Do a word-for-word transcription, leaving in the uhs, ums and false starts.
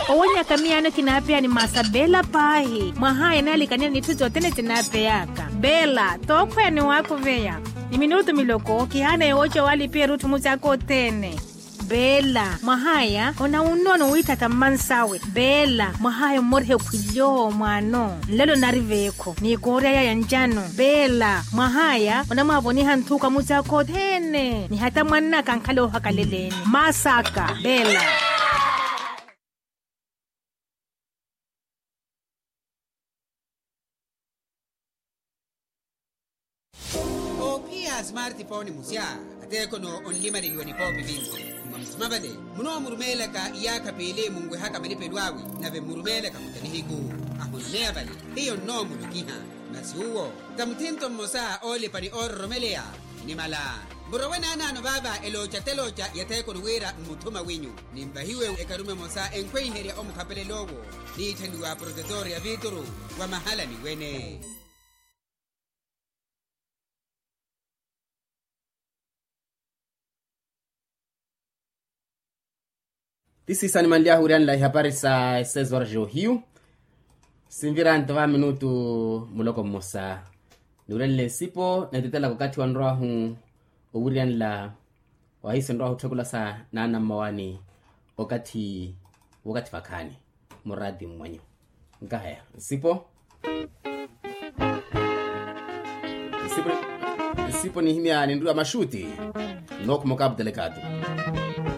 Owonyaka miyaano kinaapeya ni masa beela paahi. Mwahaya naalikaniya n'itthu sothene sinaapeyaka. Beela tookhweya ni waakuveya. Ni minutu miloko kihaana yooca waalipiya erutthu musi aka othene. Beela mwahaya onawunnono wiitthaka mmansawe. Beela mwahaya ommoriha ekhwilyo mwaano. Nlelo nari veekho ni kooryaya ya ncano. Beela mwahaya onamwaavoniha nthuka musi aka othene ni hata mwannaka ankhala oohakaleleeni. Masaka beela. Oophiya a smartphone musya ateekhono onlimaleliwa nipoopi vinci. Mwa musima vale munoomurumeelaka iyaakha piili munwehaka malipelo awe. Nave mmurumeelaka muta nihiku ahonomeya vale hiyo nnoomulokiha. Masi uwo ka muthinto mmosa oolipa ni oororomeleya. Nimala murowe naanaano vaava elooca telooca ya theekoni wira mmuthuma winyu. Nimvahiwe ekarume emosa enkhweiherya omukhapelel'owo. Niitthaniwa protetor ya vituru wa mahala niwene. Ti siisa nimanly'ahu wiriyanla ihapari sa esezora johiyu. Sinvira nto va minutu muloko mmosa niwurenle nsipo neetetelaka okathi wanrw'ahu owiriyanla. Wahiiso nrw'ahu otthekula sa naana mmawani okathi w'okathi vakhaani muraati mmwanyu. Nkahaya nsipo nsipo nihimya ninriwa maxuuti. Nookhuma okaaputele kaatu.